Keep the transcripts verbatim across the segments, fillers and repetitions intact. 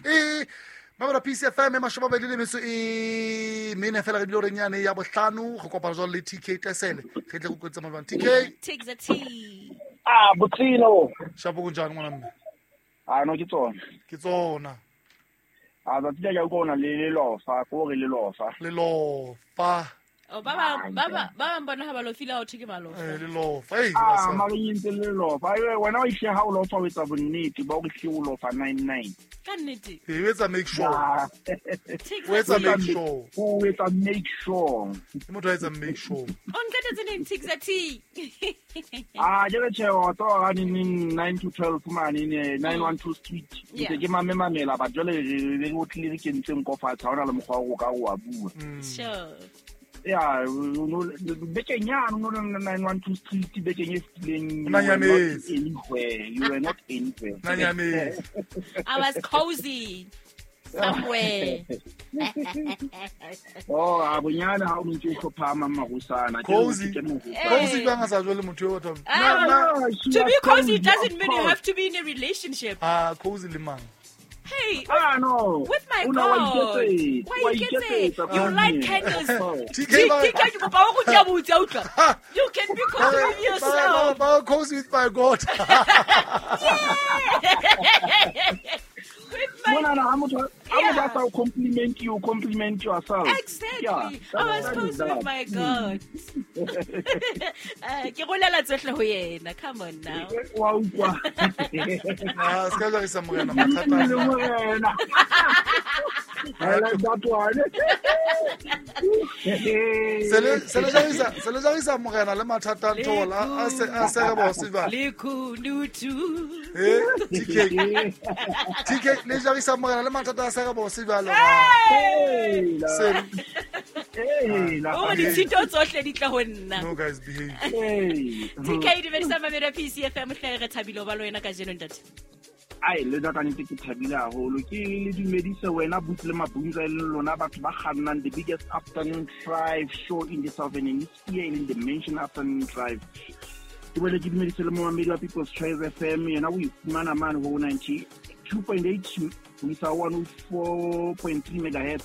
E Mabara P C F M mashoma ba le metso e mene fela re dilo re nyane ya bohlano go kopana jwalo le T K Tesele re tle go kwetsa mabang T K takes a T. Ah botsino shapo go njani ngwana mme? Ah no ke tsona. Ke tsona. Ah tsatsi la go ona le le lofa go re le lofa. Le lofa. Oh baba baba baba mbona ha ba lofile ha o theke malofa. Eh le lofa. Ei ah mara yintse le lofa. Ai wena o ishe ha o lofa o etsa bonnete ba o re hle o lofa nine nine. Ka nnete. E etsa make sure. O etsa make sure. O etsa make sure. Ke motho a etsa make sure. O nqetetse neng takes a T. Ah ke re tjhe o tlo ga ni nine to twelve mane ne nine one two street. Ke ke mame mamela ba jwale re o tlile re kentseng ko fatshe ha ona le mokgwa o ka o a bua. Sure. Yeah, no bekeng ya no nine one two street bekeng e fetileng. Anywhere, you were not anywhere. I was cozy somewhere. Oh, abonyana ha o ntse o hlopha marusana. Cozy. Cozy bang sa jwale motho o batho. To be cozy doesn't mean you have to be in a relationship. Ah, cozy le mang? Hey, ah, no. With my God. Why you get it? You light candles. You can be cozy with yourself. I'm cozy with my God. Yeah. With my no, no, I'm not. I'm not to compliment you, compliment yourself. Exactly. Yeah, I was cozy with my God. Ke rolela tsohle ho yena. Come on now. Wa utlwa. Ah, ska ja isa morena mathata. I like that one. Sele sele ja isa, sele ja isa morena le mathata nthola a se a se re bo se ba. Le kunutu. Eh, T K. T K le ja isa morena le mathata a se re bo se ba le. Se. Eh, la. O ditshito tsohle di tla ho nna. No guys behave. T K di bedisa mamela P C F M hle re thabile ba lo wena ka jeno ntate. Ai le nna ka nnete ke thabile haholo ke le dumedise wena Butse le Mabunza le lona batho ba kgannang the biggest afternoon drive show in the southern hemisphere in the dimension afternoon drive. Ke boele ke dumedise le momamedi wa People's Choice F M yena o ifumana mane ho ninety two point eight ho isa one oh four point three megahertz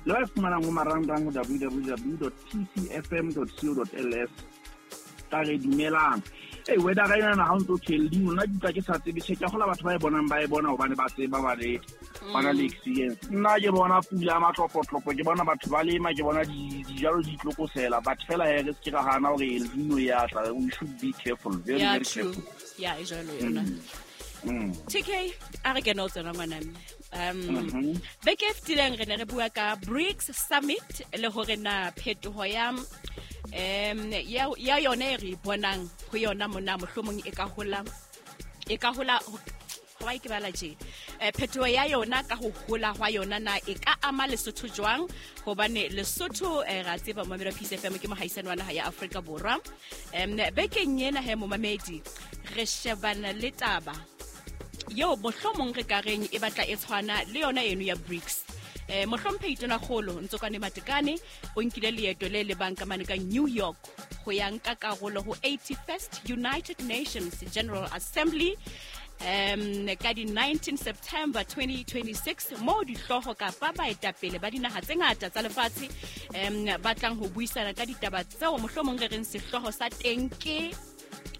le ba fumanang ho marangrang ho w w w dot p c f m dot co dot l s. Ka re dumelang. Hey, whether ra ena ha o ntso tshele nna ke tla ke sa tsebe tjhe ke gola batho ba e bonang ba e bona hobane ba tseba ba le ba na le experience. Nna ke bona pula matlopotlopo ke bona batho ba lema ke bona dijalo di tlokosela but fela he re se ke ra hana hore El Nino ya tla. We should be careful, very yeah, very true. careful. Yeah, e jwalo yona. Mm. T K a re kena o tsena ngwana mme. Um beke e fetileng re ne re bua ka BRICS Summit le hore na phetoho ya um ya ya yone re bonang ho yona mona mohlomong e ka hola e ka hola hwa ke bala tje eh phetoho ya yona ka ho hola hwa yona na e ka ama Lesotho jwang hobane Lesotho eh ra tseba momamedi P C F M ke mohaisane wa naha ya Afrika Borwa. Em bekeng ena he momamedi re shebana le taba yo mohlomong re ka reng e batla e tshwana le yona eno ya BRICS. Eh mohlomphehi Tonakgolo Ntsokane Matekane o nkile leeto le le banka mane ka New York ho ya nka karolo ho eighty-first United Nations General Assembly um ka di nineteenth September twenty twenty-six mo dihlooho kapa baetapele ba dinaha tse ngata tsa lefatshe um ba tlang ho buisana ka ditaba tseo mohlomong re reng sehlooho sa teng ke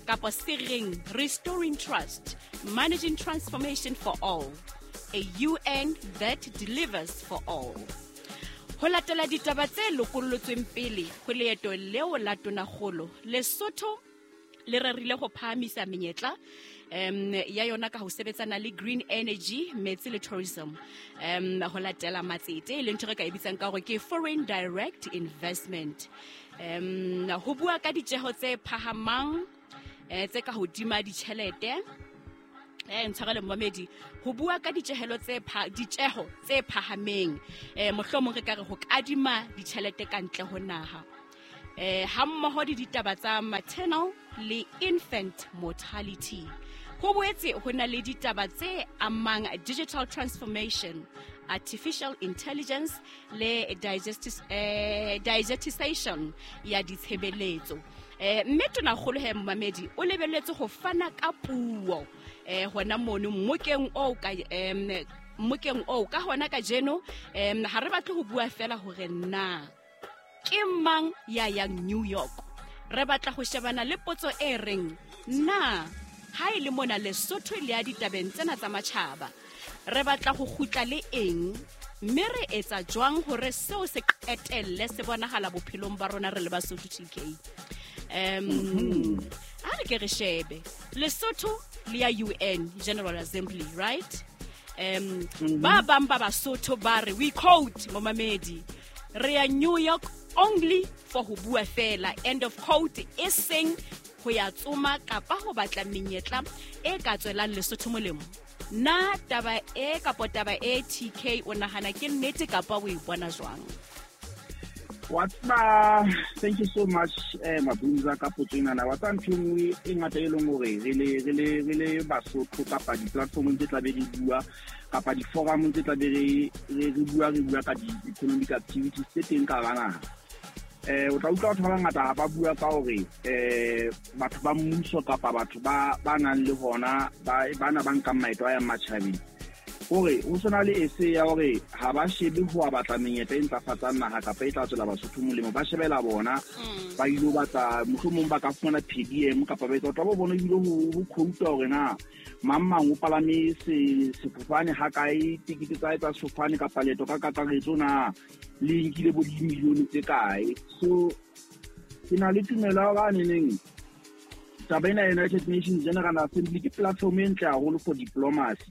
kapa se reng Restoring Trust, Managing Transformation for All, a U N that delivers for all. Ho latela ditaba tse lokollotsweng pele ho leeto leo la Tonakgolo, Lesotho le rerile ho phahamisa menyetla um ya yona ka ho sebetsana le green energy, metsi le tourism. Um ho latela matsete e leng ntho re ka e bitsang ka hore ke foreign direct investment. Um ho bua ka ditjeho tse phahamang eh tse ka hodima ditjhelete eh ntshwarele momamedi ho bua ka ditjehelo tse ditjeho tse phahameng eh mohlomong re ka re ho kadima ditjhelete ka ntle ho naha eh ha mmoho di ditaba tsa maternal le infant mortality. Ho boetse ho na le ditaba tse amang digital transformation, artificial intelligence le digestis eh digestisation ya ditshebeletso. Eh mme Tonakgolo he momamedi o lebelletse ho fana ka puo eh hona mono mmokeng o ka em Mmokeng oo ka hona kajeno um ha re batle ho bua fela hore na ke mang ya yang New York. Re batla ho shebana le potso e reng na ha e le mona Lesotho le ya ditabeng tsena tsa matjhaba re batla ho kgutla le eng, mme re etsa jwang hore seo se qetelle se bonahala bophelong ba rona re le Basotho T K. Um a re ke re shebe Lesotho le ya U N General Assembly, right? Um ba bang ba Basotho ba re, we quote momamedi, re ya New York only for ho bua fela, end of quote, e seng ho ya tsoma kapa ho batla menyetla e ka tswelang Lesotho molemo. Na taba e kapa taba e T K o nahana ke nnete kapa o e bona jwang? Wa tseba, thank you so much eh Mabunza ka potso ena. Wa tseba ntho e nngwe e ngata e leng hore re le re le re le Basotho kapa di-platformong tse tlabe re bua kapa di-forumong tse tlabe re re re bua re bua ka di-economic activities tse teng ka hara naha. Eh o tla utlwa batho ba bangata ha ba bua ka hore eh batho ba mmuso kapa batho ba ba nang le hona ba bana ba nkang maeto a yang matjhabeng, hore ho sona le ese ya hore ha ba shebe ho batla menyetla e ntlafatsang naha kapa e tla tswela Basotho molemo, ba shebela bona ba ilo batla mohlomong ba ka fumana P D M kapa ba etsa. O tla bo bona ebile ho ho quote hore na mang mang o palame se sefofane ha kae, tikete tsa hae tsa sefofane kapa leeto ka kakaretso na le nkile bo dimilione tse kae. So ke na le tumelo ya hore a neneng taba ena ya United Nations General Assembly ke platform e ntle haholo for diplomacy.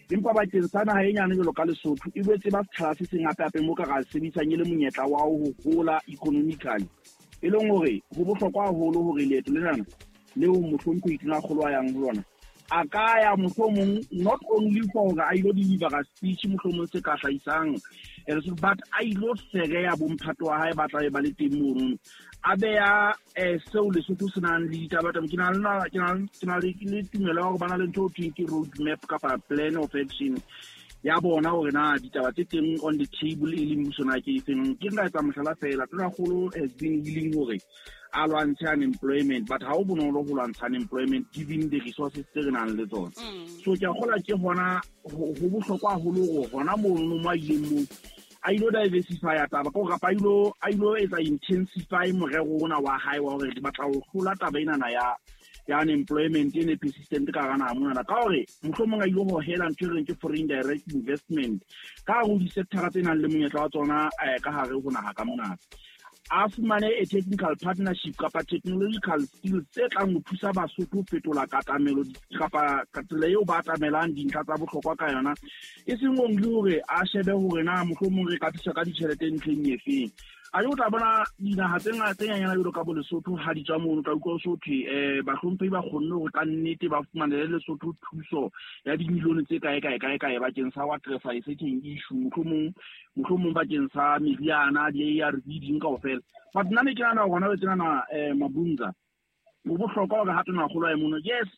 Empa bakeng sa naha e nyane jwalo ka Lesotho e boetse ba setjhaba se seng hape-hape mo ka ra sebedisang e le monyetla wa ho hola economically, e leng hore ho bohlokwa haholo hore leeto lenana leo mohlomphehi Tonakgolo a yang ho lona a ka ya mohlomong not only for hore a ilo deliver speech mohlomong se ka hlahisang but a ilo fereya bomphato wa hae ba tlabe ba le teng mono, a beya seo Lesotho se nang le ditaba. Ke na le ke na ke na le tumelo ya hore ba na le ntho e thweng ke road map kapa plan of action ya bona hore na ditaba tse teng on the table e leng mmuso na ke efeng. Ke nka etsa mohlala fela, Tonakgolo has been willing hore a lwantshe unemployment, but ha ho bonolo ho lwantsha unemployment given the resources tse re nang le tsona. So ke a kgolwa ke hona ho bohlokwa haholo hore hona mono mo a ileng moo a ilo diversify taba ka hore kapa a ilo a ilo etsa intensify morero ona wa hae wa hore re batla ho hlola taba enana ya ya unemployment e ne persistent ka hara naha monana, ka hore mohlomong a ilo hohela ntho e reng ke foreign direct investment ka hare ho di-sector tse nang le monyetla wa tsona ka hare ho naha ka mona. A fumane a technical partnership kapa technological skills tse tlang ho thusa Basotho ho fetola katamelo kapa tsela eo ba atamelang dintlha tsa bohlokwa ka yona, e seng only hore a shebe hore na mohlomong re ka thusa ka ditjhelete ntlheng efeng. A o tla bona dinaha tse ngata tse nyenyana jwalo ka bo Lesotho ha di tswa mono, tla utlwa ho so thwe eh bahlomphehi ba kgonne hore ka nnete ba fumanele Lesotho thuso ya dimilione tse kae kae kae kae bakeng sa ho addressa a certain issue, mohlomong mohlomong bakeng sa meriana, di-A R V ding kaofela. But nna ne ke nahana hore hona jwale tjenana eh Mabunza ho bohlokwa hore ha Tonakgolo a ye mono, yes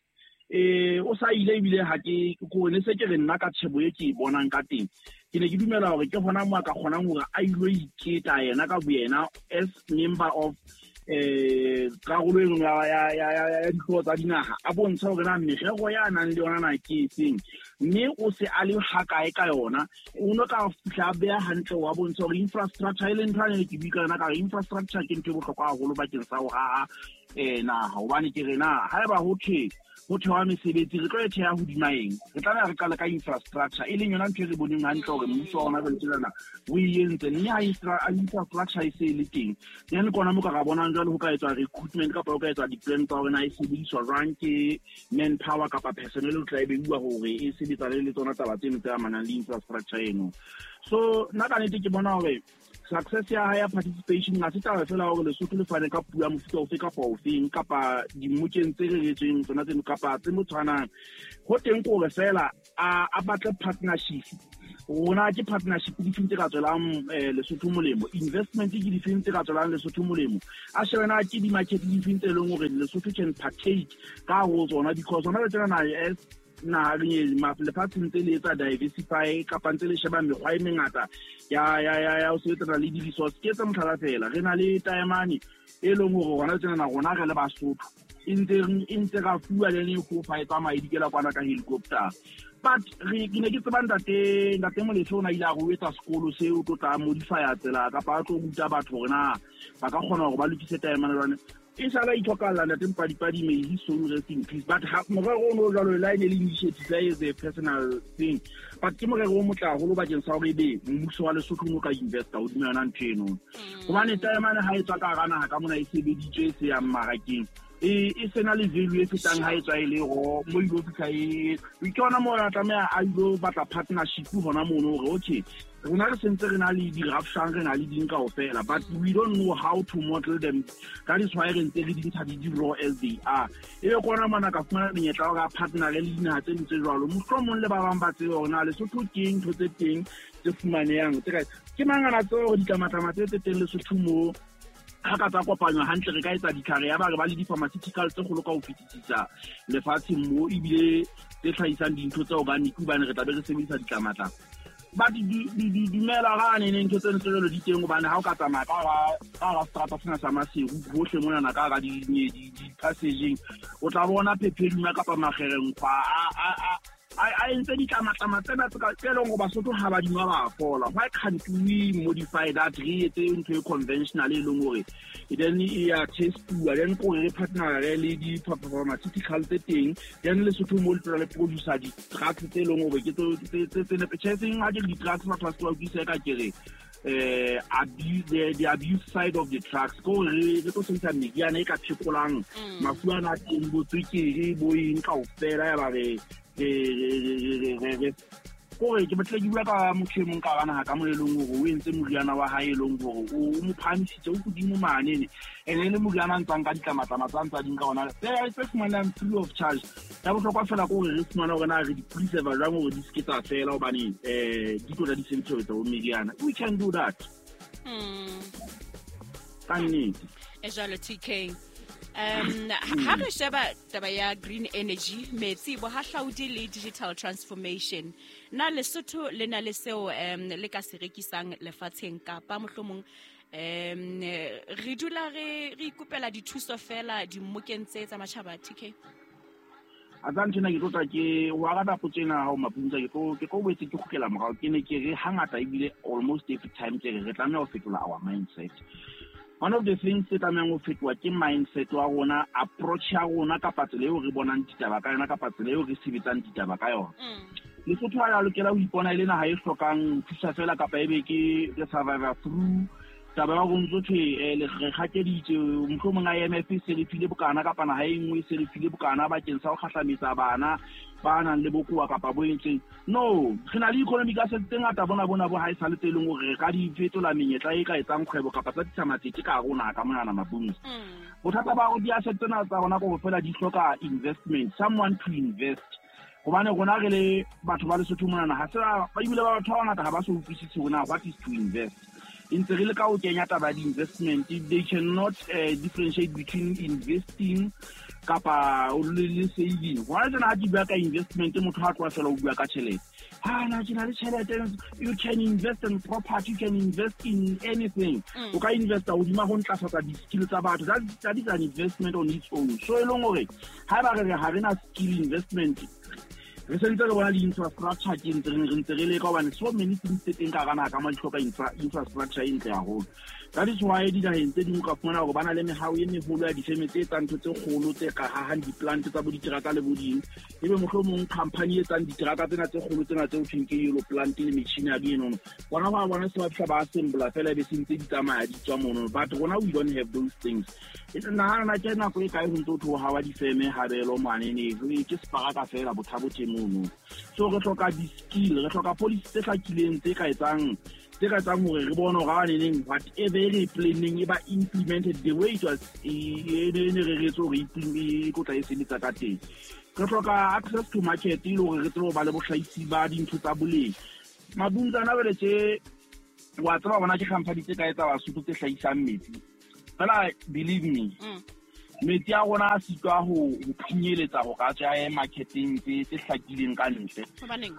eh o sa ile ebile ha ke ko ne se ke re nna ka tshebo e ke e bonang ka teng, ke ne ke dumela hore ke hona mo a ka kgonang hore a ilo iketa yena ka boyena as member of eh karolo e nngwe ya ya ya ya dihlooho tsa dinaha, a bontsha hore na merero ya nang le yona na ke efeng, mme o se a le hakae ka yona. O no ka fihla a beha hantle wa bontsha hore infrastructure e leng ntho ane ke bua ka yona ka hore infrastructure ke ntho e bohlokwa haholo bakeng sa ho haha eh naha, hobane ke re na haeba ho thwe ho thewa mesebetsi re tlo e theha hodima eng, re tlameha re qale ka infrastructure e leng yona ntho e re boneng hantle hore mmuso wa rona jwale tjenana o e entse, mme ha infrastructure e se e le teng then ke ona mo ka ra bonang jwale ho ka etswa recruitment kapa ho ka etswa di-plan tsa hore na e sebediswa jwang ke manpower kapa personnel o tla e beuwa hore e sebetsane le tsona taba tseno tse amanang le infrastructure eno. So nna ka nnete ke bona hore success ya hae ya participation ha se taba fela hore Lesotho le fane ka puo ya mofuta ofe kapa ofeng kapa dimmokeng tse reretsweng tsona tseno kapa tse mo tshwanang. Ho teng ke hore fela a a batle partnership. Rona ke partnership difeng tse ka tswelang Lesotho molemo, investment ke difeng tse ka tswelang Lesotho molemo, a shebe na ke di-market difeng tse leng hore Lesotho can partake ka ho tsona, because hona le tjenana as naha lefatshe ntse le etsa diversify kapa ntse le sheba mekgwa e mengata ya ya ya ya ho sebetsana le di-resource. Ke etsa mohlala fela, re na le taemane e leng hore hona tjenana rona re le Basotho e ntse e ntse ra fuwa le ne go fa e tsamaya e dikela kwana ka helicopter. But re ke ne ke tseba ntate ntate Molefe o na ile a re o etsa sekolo se o tlo tla modify tsela kapa a tlo ruta batho hore na ba ka kgona hore ba lokise taemane jwang. E sala ithokalla ntate Mpadipadi, may his soul rest in peace. But ha morero o no jwalo la ene le initiative is a personal thing, but ke morero o motle haholo bakeng sa hore ebe mmuso wa Lesotho o ka investa hodima yona ntho eno. Hobane taemane ha e tswa ka hara naha ka mona e sebeditswe e se yang mmarakeng, e e sena le value e fetang ha e tswa e le ro mo ilo fihla e ke yona moo a tlameha a ilo batla partnership hona mono hore okay rona re sentse re na le di-rafshang re na le ding kaofela, but we don't know how to model them. That is why re ntse re di ntsha di raw as they are. Ebe ke ona mona ka fumana menyetla wa hore a partner le dinaha tse ding tse jwalo, mohlomong le ba bang ba tsebe hore na Lesotho ke eng ntho tse teng tse fumanehang tse kae. Ke mang a na tseba hore ditlamatlama tse tse teng Lesotho moo ha ka tsa kopanywa hantle re ka etsa ditlhare ya ba re ba le di-pharmaceutical tse kgolo ka ho fetisisa lefatsheng mo, ebile tse hlahisang dintho tse organic hobane re tla be re sebedisa ditlamatlama. But di dumela ga ne ntho tse ntse jwalo di teng hobane ha o ka tsamaya ka ka hara seterata sena sa Maseru hohle monana ka hara di-passageng o tla bona phepheluma kapa makgerenkgwa a a a entse ditlamatlama tsena tse leng hore Basotho ha ba di nwa ba fola. Why can't we modify that, re etse ntho e conventional e leng hore then e ya testuwa, then ko re partner le di-pharmaceutical tse teng, then Lesotho mo le tla le producer di-drugs tse leng hore ke tse tse nepahetseng. Ha ke re di-drugs batho ba se ba utlwisise ka ke re eh abuse the, the abuse side of the drugs, ko re re tlo sebedisa meriana e ka phekolang mafu ana a teng bo tswekere bo eng kaofela ya ba re kore ke batla ke bua ka motho e mong ka hara naha ka mo e leng hore o entse moriana wa hae e leng hore o mo phahamisitse o hodimo manene, ene le moriana a ntsang ka ditlamatlama tsa ntsa ding ka ona tse fumanang free of charge. Ya bohlokwa fela ke hore re fumane hore na re di preserve jwang hore di se ke tsa fela hobane um di tlo tla di sebediswa ho etsa bo meriana. We can do that ka nnete. E jwalo T K. Um ha re sheba taba ya green energy, metsi, bohahlaudi le digital transformation, na Lesotho le na le seo um le ka se rekisang lefatsheng kapa mohlomong um re dula re re ikopela dithuso fela dimmokeng tse tsa matjhaba? T K a tsa ntho ena ke tlo tla ke o araba potso ena ha o Mapunza, ke tlo ke tlo boetse ke kgutlela morao. Ke ne ke re hangata ebile almost every time ke re re tlameha ho fetola our mindset. One of the things tse tlamehang ho fetoha ke mindset wa rona, approach ya rona kapa tsela eo re bonang ditaba ka yona kapa tsela eo re sebetsang ditaba ka yona. Lesotho ha ya lokela ho ipona e le naha e hlokang thusa fela kapa ebe ke re survivor through taba ya hore ntso thwe re kgakeditse mohlomong I M F e se re file bokana kapa naha e nngwe e se re file bokana bakeng sa ho kgahlametsa bana ba nang le bokowa kapa bo entseng. No, re na le economic assets tse ngata bona bona bo ha e sale tse leng hore re ka di fetola menyetla e ka etsang kgwebo kapa tsa tlisa matsete ka hare ho naha ka monana Mapunza. Bothata ba hore di-asset tsena tsa rona ke hore fela di hloka investment, someone to invest. Hobane rona re le batho ba Lesotho monana ha se ba ebile ba batho ba bangata ha ba so utlwisise hore na what is to invest. E ntse re leka ho kenya taba ya di-investment, they cannot uh, differentiate between investing kapa le saving. Hona jwana ha ke bua ka investment, motho ha tloha fela o bua ka tjhelete. Ha na ke na le tjhelete, you can invest in property, you can invest in anything. O ka investa hodima ho ntlafatsa di-skill tsa batho. That, that is an investment on its own. So e leng hore haeba re re ha re na skill investment, re sentse re bona di-infrastructure ke ntse re ntse re leka hobane so many things tse teng ka hara naha ka mo di hloka infrastructure e ntle haholo. That is why dinaheng tse ding o ka fumana hore ba na le mehao e meholo ya difeme tse etsang ntho tse kgolo tse ka hahang di-plant tsa bo diteraka le bo ding. Ebe mohlomong company e etsang diteraka tsena tse kgolo tsena tse ho thweng ke yellow plant le machinery enono, bona ba bona se ba fihla ba assembla fela ebe se ntse di tsamaya di tswa mono. But rona we don't have those things. Nahana ke nako e kae ho ntse ho thwe ho hawa difeme habelo manene, ke separaka fela bothabo teng mono. So re hloka di-skill, re hloka policy tse hlakileng tse ka etsang tse ka etsang hore re bone hore ha neneng whatever re planning e ba implemented the way it was e ne re retse hore e tlo tla e sebetsa ka teng. Re hloka access to market e le hore re tsebe ho ba le bohlahisi ba dintho tsa boleng. Mabuntsana jwale tje wa tseba bona ke company tse ka etsa Basotho tse hlahisang metsi. Fela believe me, Metsi a rona a sitwa ho ho phunyeletsa ho ka tswa ya marketing tse tse hlakileng ka ntle.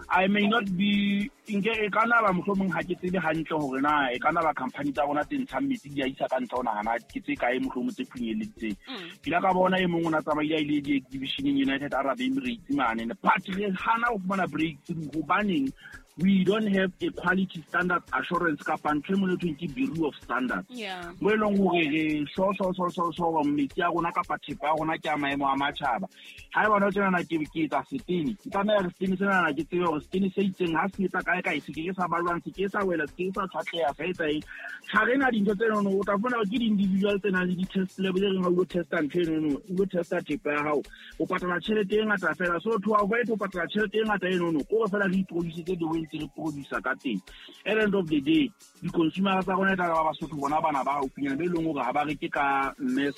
I may not be nke e kana ba mohlomong ha ke tsebe hantle hore na e kana ba company tsa rona tse ntshang metsi di a isa ka ntle ho nahana ke tse kae mohlomong tse phunyeleditseng. Ke la ka bona e mong o na tsamaile a ile di-exhibitioneng United Arab Emirates mane, but re hana ho fumana breakthrough hobaneng we don't have a quality standard assurance kapa ntho e mone thweng ke Bureau of Standards. Mo e leng hore re so so so so so metsi a rona kapa thepa ya rona ke a maemo a matjhaba. Ha e bona tjenana ke ke etsa setene, ke tlameha re setene senana ke tsebe hore setene se itseng ha se etsa kae kae se ke ke sa balwang, se ke sa wela, se ke sa tshwatleha, sa etsa eng. Ha re na dintho tse nono, o tla fumana hore ke di-individual tse nang le di-test lab tse reng ha o lo testa ntho enono, o lo testa thepa ya hao, o patala tjhelete e ngata fela. So to avoid ho patala tjhelete e ngata enono, ke hore fela re iproduce the way ntse re producer ka teng. At the end of the day, di-consumer tsa rona e tla ba Basotho bona bana ba haufinyana be leng hore ha ba reke ka mess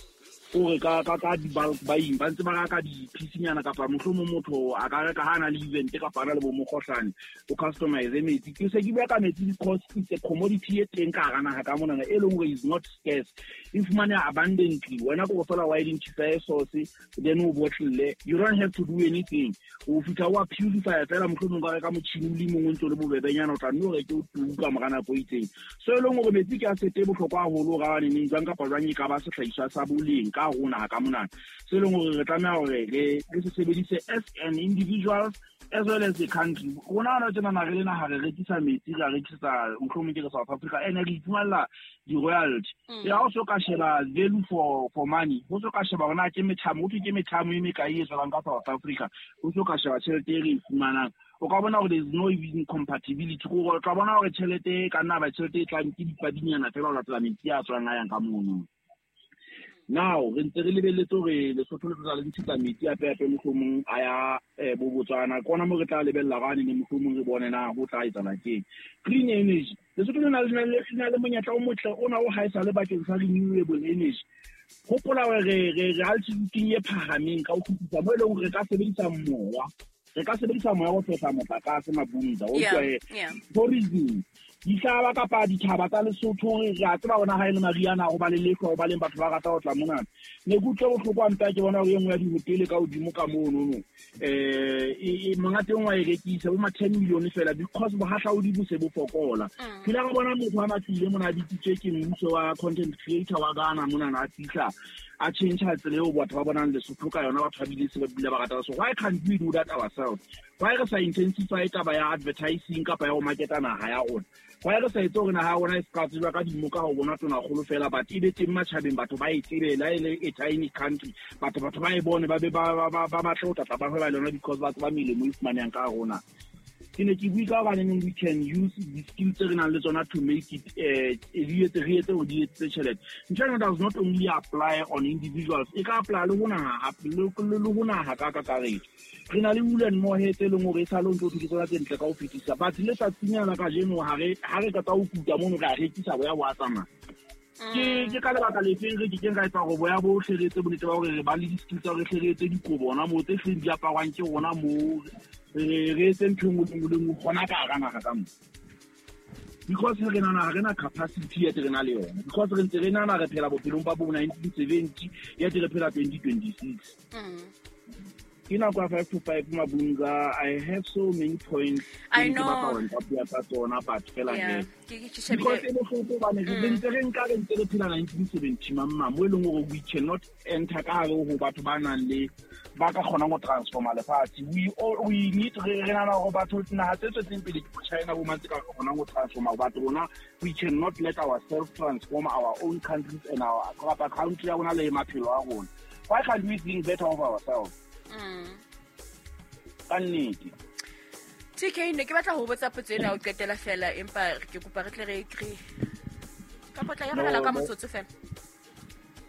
ore ka ka ka di-bulk buying, ba ntse ba reka di-piece-nyana kapa mohlomong motho a ka reka ha na le event kapa a na le bo mokgohlane, o customize metsi. Ke se ke bua ka metsi because it's a commodity e teng ka hara naha ka monana e leng hore is not scarce, e fumaneha abundantly. Wena ko fela wa identify source then o bottle, you don't have to do anything. O fihla wa purify fela mohlomong ka reka motjhini o le mong o ntse o le bobebenyana, o tla nne o reke o tuka mora nako e itseng. So e leng hore metsi ke asset e bohlokwa haholo hore a neng jwang kapa jwang e ka ba sehlahiswa sa boleng ka rona ka monana. Se leng hore re tlameha hore re re se sebedise as an individuals as well as the country. Rona hona tjenana re le naha re rekisa metsi, re a rekisetsa mohlomong ke re South Africa, ene re iphumalla di-royalty. Ya ho so ka sheba value for for money, ho so ka sheba hore na ke methamo, ho thwe ke methamo e mekae e tswelang ka South Africa, ho so ka sheba tjhelete e re e fumanang. O ka bona hore there is no even compatibility. Ko tla bona hore tjhelete e ka nna ba tjhelete e tlang ke dipadinyana fela ho latela metsi a tswang a yang ka mono. Now re ntse re lebelletse hore Lesotho le tla le ntshetsa metsi a pepe mohlomong a ya bo Botswana, ke ona mo re tla lebella hore a nene mohlomong re bone na ho tla etsahala keng. Green energy, Lesotho le na le na le monyetla o motle ona o haesale bakeng sa renewable energy. Hopola hore re re re altitude e phahameng ka ho fetisisa mo e leng hore re ka sebedisa moya, re ka sebedisa moya ho fehla motlakase Mabunza. O utlwa tourism, dihlaba kapa dithaba tsa Lesotho re a tseba hona ha e le mariana ho ba le lehlwa, ho ba leng batho ba rata ho tla monana. Ne ke utlwe bohloko hampe ha ke bona hore e nngwe ya dihotele ka hodimo ka monono eh monga teng wa e rekisa bo ma ten million fela because bohahlaudi bo se bo fokola. Ke ile ka bona motho a matlile mona a bitsitswe ke mmuso wa content creator wa Ghana monana a fihla a change tsela eo batho ba bonang Lesotho ka yona, batho ba bile se ba bile ba rata. So why can't we do that ourselves? Why re sa intensify taba ya advertising kapa ya ho marketa naha ya rona? Why re sa etse hore naha ya rona e se ka tsejwa ka dimoka ho bona tonakgolo fela, but e be teng matjhabeng, batho ba e tsebe la e le a tiny country, batho batho ba e bone ba be ba ba ba batle ho tlatla ba hweba le yona because ba tseba melemo e fumanehang ka rona. Ke ne ke bue ka hobaneng we can use the skills tse re nang le tsona to make it eh di etse re etse hore di etse tjhelete. Ntho ena does not only apply on individuals, e ka apply le ho naha le ho naha ka kakaretso. Re na le wool and mohair tse leng hore e sale o ntso thwe ke tsona tse ntle ka ho fetisa, but le tsatsing la kajeno ha re ha re qeta ho kuta mono re a rekisa boya bo a tsamaya. Ke ke ka lebaka lefeng re kekeng ra etsa hore boya bohle re etse bonnete ba hore re ba le di-skills tsa hore hle re etse dikobo hona moo tse hleng di aparwang ke rona moo, re re etse ntho e nngwe le nngwe le nngwe hona ka hara naha ka moo. Because re nahana ha re na capacity yet re na le yona, because re ntse re nahana re phela bophelong ba bo nineteen seventy yet re phela twenty twenty-six. Ke nako ya five to five Mabunza. I have so many points. I know. Ke batla ho tsona but fela he. Because e bohloko hobane re ntse re nka re ntse re phela nineteen seventy mamma mo e leng hore we cannot enter ka hare ho batho ba nang le ba ka kgonang ho transforma lefatshe. We all we need re re nahana hore batho naha tse tswetseng pele ke China bo mang tse ka kgonang ho transforma, but rona we cannot let ourselves transform our own countries and our kapa country ya rona le maphelo a rona. Why can't we think better of ourselves? Ka nnete. T K, ne ke batla ho botsa potso ena o qetela fela, empa ke kopa re tle re re ka potla ya rala ka motsotso fela.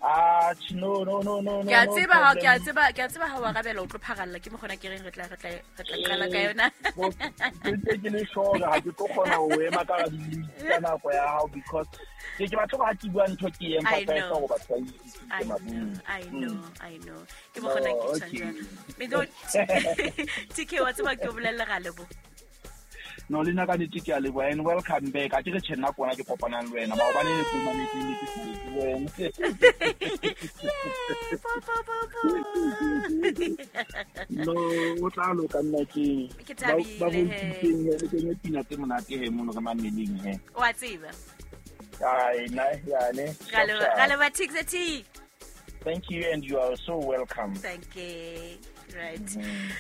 Ah, no no no no no. Ke a tseba ha ke a tseba ke a tseba ha wa arabela o tlo pharalla ke mokgona ke reng re tla re tla re tla qala ka yona. Ke ke le sure ha ke tlo kgona ho ema ka di nako ya hao because ke ke batla ha ke bua ntho ke e emphasize hore batho ba I know, I know, I know. Ke mokgona ke tjhang jwalo. Me do T K wa tseba ke o bolella ga lebo. No le nna ka nnete ke a leboha and welcome back. A ke re tjhe nna kona ke kopanang le wena maobane ne ke mametse ne ke sa le wena. No o tla loka nna ke Ke thabile ba he. bontshitseng le kenye pina tse monate he mono re mameleng he. Wa tseba. Ai na yane. Ra leboha- ra leboha Tigza T. Thank you and you are so welcome. Thank you. Right.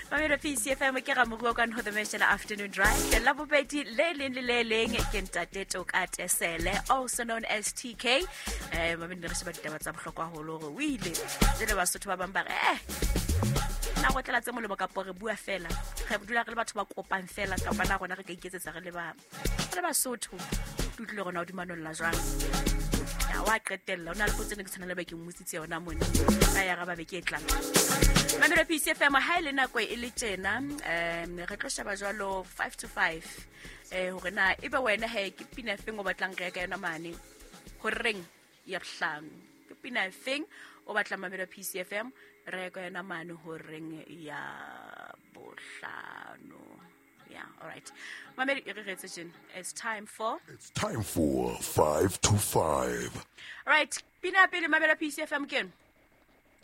Mamelo P C F M ke Ramoruo ka ho the Mention Afternoon Drive. La bobedi le leng le le leng ke ntate Toka Tesele, also known as T K. Eh mamelo re sheba ditaba tsa bohlokwa haholo hore o ile. Jwale Basotho ba bang ba re eh na go tlela tse molemo kapo re bua fela. Re dula re le batho ba kopang fela kapa na rona re ka iketsetsa re le ba re le Basotho. Ke utlwile hore na o dumanolla jwang. Ya wa qetella o na le potso ne ke tshwana le ba ke mmotsitse yona mone. Ka ya raba beke e tlang. Mamelo P C F M ha e le nako e le tjena, um re tlo sheba jwalo five to five. Eh hore na ebe wena he ke pina feng o batlang re ya ka yona mane. Horeng ya bohlano. Ke pina feng o batlang Mamelo P C F M re ya ka yona mane horeng ya bohlano. Yeah, all right. Mamelo e re retse tjena. It's time for It's time for five to five. All right, pina pele Mamelo P C F M ke eno.